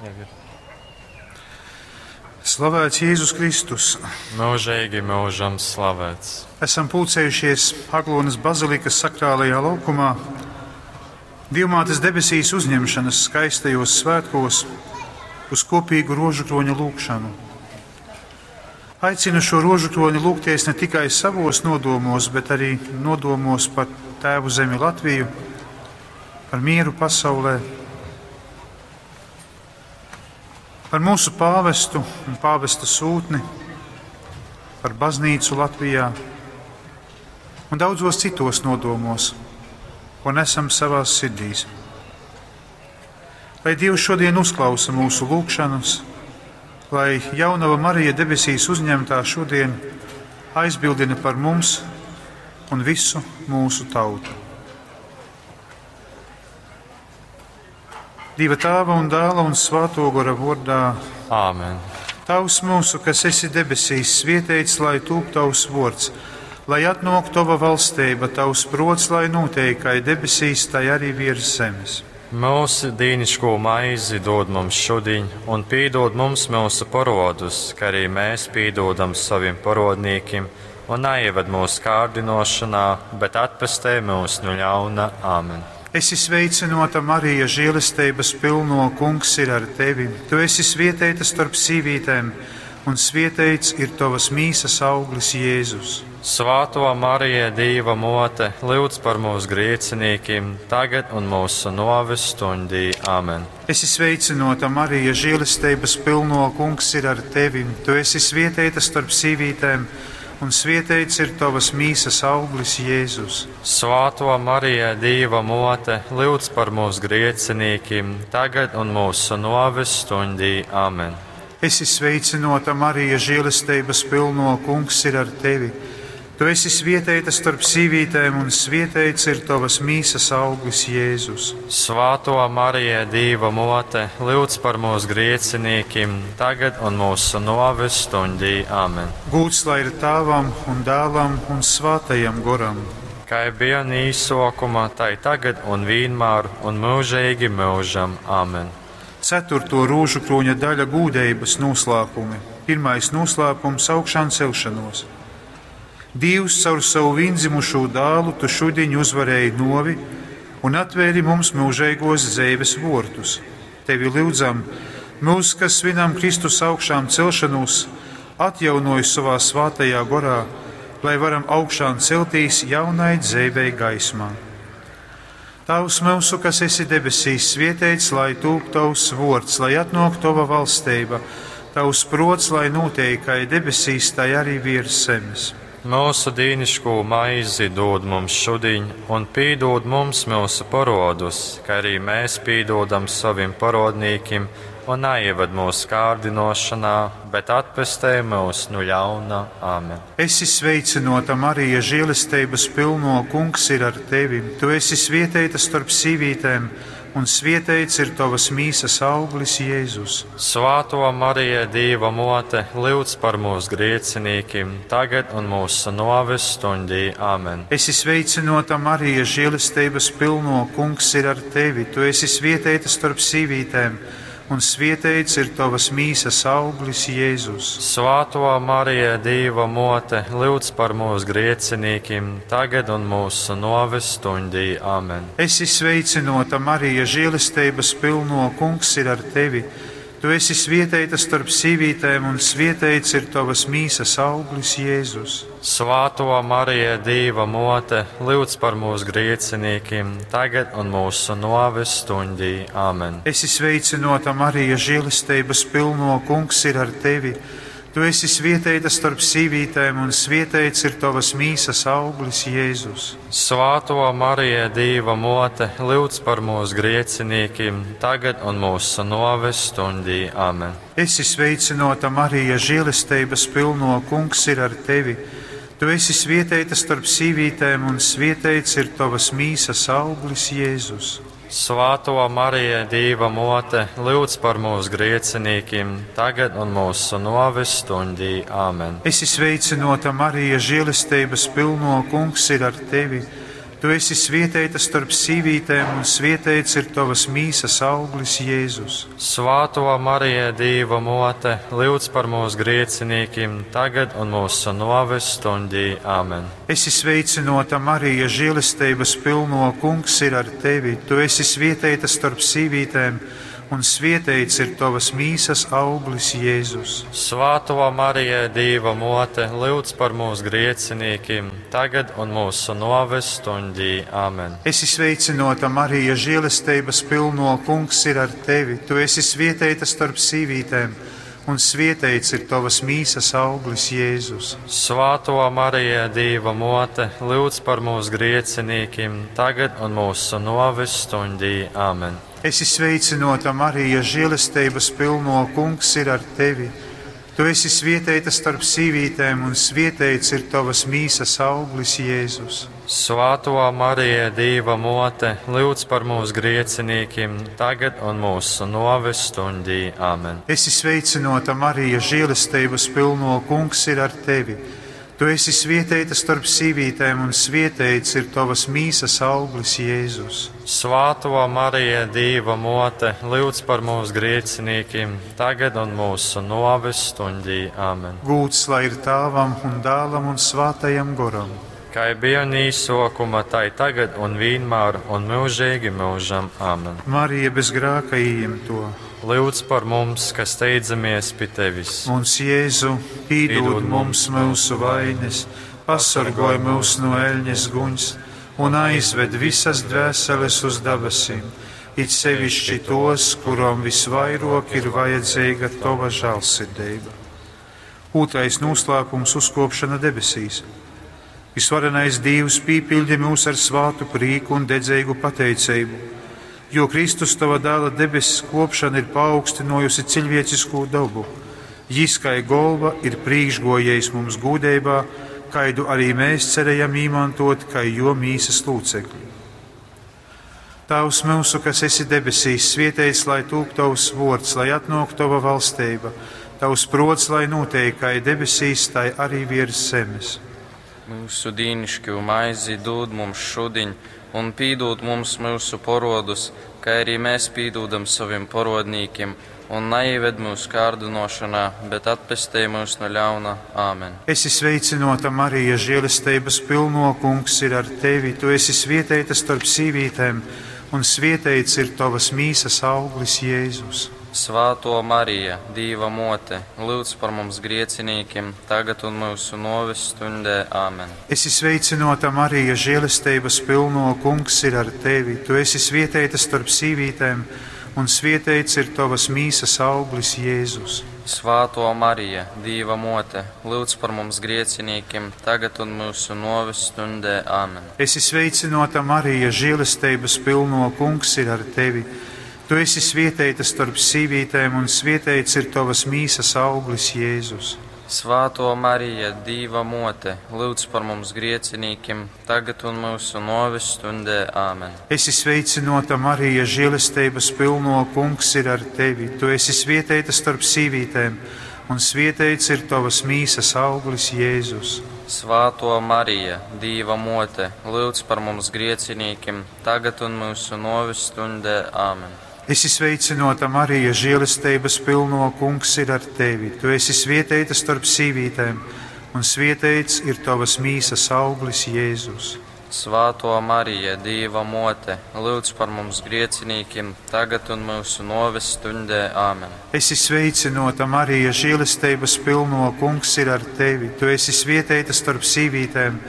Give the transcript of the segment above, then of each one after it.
Jau ir. Slavēts Jēzus Kristus! Mūžīgi mūžam slavēts. Esam pulcējušies Aglonas bazilikas sakrālajā laukumā Dievmātes debesīs uzņemšanas skaistajos svētkos uz kopīgu rožukroņa lūgšanu. Aicinu šo rožukroni lūgties ne tikai savos nodomos, bet arī nodomos par Tēvu zemi Latviju, par mieru pasaulē, par mūsu pāvestu un pāvesta sūtni, par baznīcu Latvijā un daudzos citos nodomos, ko nesam savās sirdīs. Lai Dievs šodien uzklausa mūsu lūgšanas, lai jaunava Marija debesīs uzņemtā šodien aizbildina par mums un visu mūsu tautu. Dieva tēva un dēla un svēto gora vārdā. Āmen. Tavs mūsu, kas esi debesīs, svietēts, lai tūp tavs vārds, lai atnāk tava valstība, tavs prots, lai notiek, kā debesīs, tai arī virs zemes. Mūsu dīniško maizi dod mums šodien, un pīdod mums mūsu parodus, kā arī mēs pīdodam saviem parodnīkim, un neieved mūsu kārdinošanā, bet atpestē mūs no ļauna. Āmen. Esi sveicinota, Marija, žēlestības pilno, kungs ir ar tevi. Tu esi svietēta starp sīvītēm, un svietēts ir tavas mīsas auglis Jēzus. Svāto Marija, Dieva mote, lūdz par mūsu grēciniekiem, tagad un mūsu noves stundī. Āmen. Esi sveicinota, Marija, žēlestības pilno, kungs ir ar tevi. Tu esi svietēta starp sīvītēm, un svietēts ir tavas mīsas auglis Jēzus. Svāto Marija, Dieva mote, lūdz par mūsu grēciniekiem, tagad un mūsu noves stundī. Āmen. Esi sveicinota, Marija, žēlestības pilno, kungs ir ar tevi. Tu esi svietēta starp sīvītēm, un svietēts ir tavas mīsas auglis Jēzus. Svāto Marija, Dieva mote, lūdz par mūsu grēciniekiem, tagad un mūsu noves stundī. Āmen. Gūts lai ir tēvam un dēlam un svētajam goram. Kā bija īsokuma, tai tagad un vienmēr un mūžīgi mūžam. Āmen. Ceturto rūžu kroņa daļa gūdeibas noslēpumi. Pirmais noslēpums - augšām celšanos. Dievs caur savu vienzimušo dēlu tu šodien uzvarēji novi un atvēri mums mūžīgos dzīves vortus. Tevi lūdzam, mūs, kas svinam Kristus augšām celšanos, atjaunoj savā svētajā gorā, lai varam augšām celtīs jaunai dzīvei gaismā. Tavs mūsu, kas esi debesīs, svietēts, lai tūp tavs vords, lai atnāk tava valstība, tavs prots, lai notiek, kā debesīs, tai arī virs zemes. Mūsu dīniško maizi dod mums šodien, un pīdod mums mūsu parodus, kā arī mēs pīdodam saviem parodnīkim, un neieved mūsu kārdinošanā, bet atpestē mūs no ļauna. Āmen. Esi sveicinota, Marija, žēlestības pilno, kungs ir ar tevi. Tu esi svietēta starp sīvītēm, un svietēts ir tavas mīsas auglis Jēzus. Svāto Marija, Dieva mote, lūdz par mūsu grēciniekiem, tagad un mūsu noves stundī. Āmen. Esi sveicinota, Marija, žēlestības pilno, kungs ir ar tevi. Tu esi svietēta starp sīvītēm, un svietēts ir tavas mīsas auglis Jēzus. Svāto Marija, Dieva mote, lūdz par mūsu grēciniekiem, tagad un mūsu noves stundī. Āmen. Esi sveicinota, Marija, žēlestības pilno, kungs ir ar tevi. Tu esi svietēta starp sīvītēm, un svietēts ir tavas mīsas auglis Jēzus. Svāto Marija, Dieva mote, lūdz par mūsu grēciniekiem, tagad un mūsu noves stundī. Āmen. Esi sveicinota, Marija, žēlestības pilno, kungs ir ar tevi. Tu esi svietēta starp sīvītēm, un svietēts ir tavas mīsas auglis Jēzus. Svāto Marija, Dieva mote, lūdz par mūsu grēciniekiem, tagad un mūsu noves stundī. Āmen. Esi sveicinota, Marija, žēlestības pilno, kungs ir ar tevi. Tu esi svietēta starp sīvītēm, un svietēts ir tavas mīsas auglis Jēzus. Svāto Marija, Dieva mote, lūdz par mūsu grēciniekiem, tagad un mūsu noves stundī. Āmen. Esi sveicinota, Marija, žēlestības pilno, kungs ir ar tevi. Tu esi svietēta starp sīvītēm, un svietēts ir tavas mīsas auglis, Jēzus. Svāto Marija, Dīva mote, lūdz par mūsu grēciniekiem, tagad un mūsu noves stundī. Amen. Esi sveicinota, Marija, žēlestības pilno, kungs ir ar tevi. Tu esi svietēta starp sīvītēm, un svietēts ir tavas mīsas auglis, Jēzus. Svāto Marija, Dīva mote, lūdz par mūsu grēciniekiem, tagad un mūsu noves stundī. Amen. Esi sveicinota, Marija, žēlestības pilno, kungs ir ar tevi. Tu esi svietēta starp sīvītēm, un svietēts ir tavas mīsas auglis, Jēzus. Svāto Marija, Dīva mote, lūdz par mūsu grēciniekiem, tagad un mūsu noves stundī. Amen. Esi sveicinota, Marija, žēlestības pilno, kungs ir ar tevi. Tu esi svietēta starp sīvītēm, un svietēts ir tavas mīsas auglis, Jēzus. Svāto Marija, Dīva mote, lūdz par mūsu grēciniekiem, tagad un mūsu noves stundī. Amen. Esi sveicinota, Marija, žēlestības pilno, kungs ir ar tevi. Tu esi svietēta starp sīvītēm, un svietēts ir tavas mīsas auglis, Jēzus. Svāto Marija, Dīva mote, lūdz par mūsu grēciniekiem, tagad un mūsu noves stundī. Amen. Gūts lai ir tāvam un dālam un svātajam goram. Kā bija un īsokuma, tai tagad un vienmēr un mūžīgi mūžam. Amen. Marija bez grāka ījimto. Lūdz par mums, kas steidzamies pie tevis. Mums Jēzu, pīdod mums mūsu vainas, pasargoj mūs no eļņas guņas un aizved visas dvēseles uz debesīm, it sevišķi tos, kurom visvairāk ir vajadzīga tava žēlsirdība. Otrais noslēpums - uzkopšana debesīs. Visvarenais Dievs pīpildi mūs ar svātu prieku un dedzīgu pateicību, jo Kristus tava dēla debesis kopšana ir paaugstinojusi cilvēcisko dabu. Jis kā golva ir priekšgojējis mums gūdībā, kaidu arī mēs cerējam īmantot, kā jo mīsas lūcekļi. Tavs mūsu, kas esi debesīs, svietēts, lai tūp tavs vārds, lai atnāk tava valstība, tavs prots, lai notiek, kā debesīs, tai arī virs zemes. Mūsu dīnišķu maizi dod mums šodien, un pīdod mums mūsu porodus, kā arī mēs pīdodam saviem porodnīkiem, un neieved mūsu kārdinošanā, bet atpestī mūs no ļauna. Āmen. Esi sveicinota, Marija, žēlestības pilno, kungs ir ar tevi. Tu esi svietēta starp sīvītēm, un svietēts ir tavas mīsas auglis, Jēzus. Svāto Marija, Dīva mote, lūdz par mums griecinīkiem, tagad un mūsu noves stundē. Āmen. Esi sveicinota, Marija, žēlestības pilno, kungs ir ar tevi. Tu esi svietēta starp sīvītēm, un svietēts ir tavas mīsas auglis, Jēzus. Svāto Marija, Dīva mote, lūdz par mums griecinīkiem, tagad un mūsu noves stundē. Āmen. Esi sveicinota, Marija, žēlestības pilno, kungs ir ar tevi. Tu esi svietēta starp sīvītēm, un svietēts ir tavas mīsas auglis, Jēzus. Svāto Marija, Dīva mote, lūdz par mums griecinīkiem, tagad un mūsu noves stundē. Āmen. Esi sveicinota, Marija, žēlestības pilno, kungs ir ar tevi. Tu esi svietēta starp sīvītēm, un svietēts ir tavas mīsas auglis, Jēzus. Svāto Marija, Dīva mote, lūdz par mums griecinīkiem, tagad un mūsu noves stundē. Āmen. Esi sveicinota, Marija, žēlestības pilno, kungs ir ar tevi. Tu esi svietēta starp sīvītēm, un svietēts ir tavas mīsas auglis, Jēzus. Svāto Marija, Dīva mote, lūdz par mums griecinīkiem, tagad un mūsu noves stundē. Āmen. Esi sveicinota, Marija, žēlestības pilno, kungs ir ar tevi. Tu esi svietēta starp sīvītēm,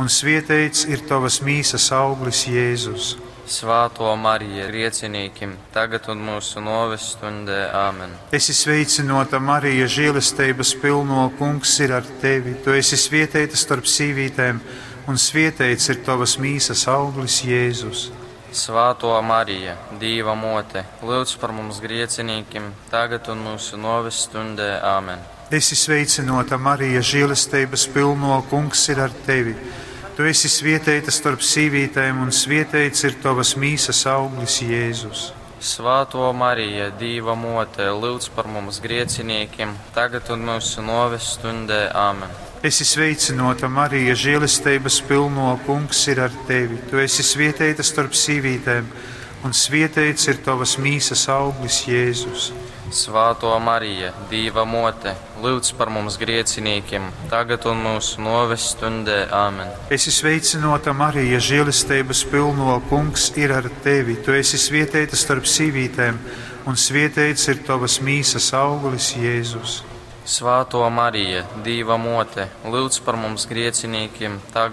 un svietēts ir tavas mīsas auglis, Jēzus. Svāto Marija, griecinīkim, tagad un mūsu noves stundē. Āmen. Esi sveicinota, Marija, žēlestības pilno, kungs ir ar tevi. Tu esi svietēta starp sīvītēm, un svietēts ir tavas mīsas auglis, Jēzus. Svāto Marija, Dīva mote, lūdz par mums griecinīkim, tagad un mūsu noves stundē. Āmen. Esi sveicinota, Marija, žēlestības pilno, kungs ir ar tevi. Tu esi svietēta starp sīvītēm, un svietēts ir tavas mīsas auglis, Jēzus. Svāto Marija, Dīva mote, lūdz par mums griecinīkiem, tagad un mūsu noves stundē. Āmen. Esi sveicināta, Marija, žēlestības pilno, kungs ir ar tevi. Tu esi svietēta starp sīvītēm, un svietēts ir tavas mīsas auglis, Jēzus. Svāto Marija, Dīva mote, lūdz par mums griecinīkiem, tagad un mūsu noves stundē. Āmen. Esi sveicināta, Marija, žēlestības pilno, kungs ir ar tevi. Tu esi svietēta starp sīvītēm, un svietēts ir tavas mīsas auglis, Jēzus. Svāto Marija, Dīva mote, lūdz par mums griecinīkiem, tagad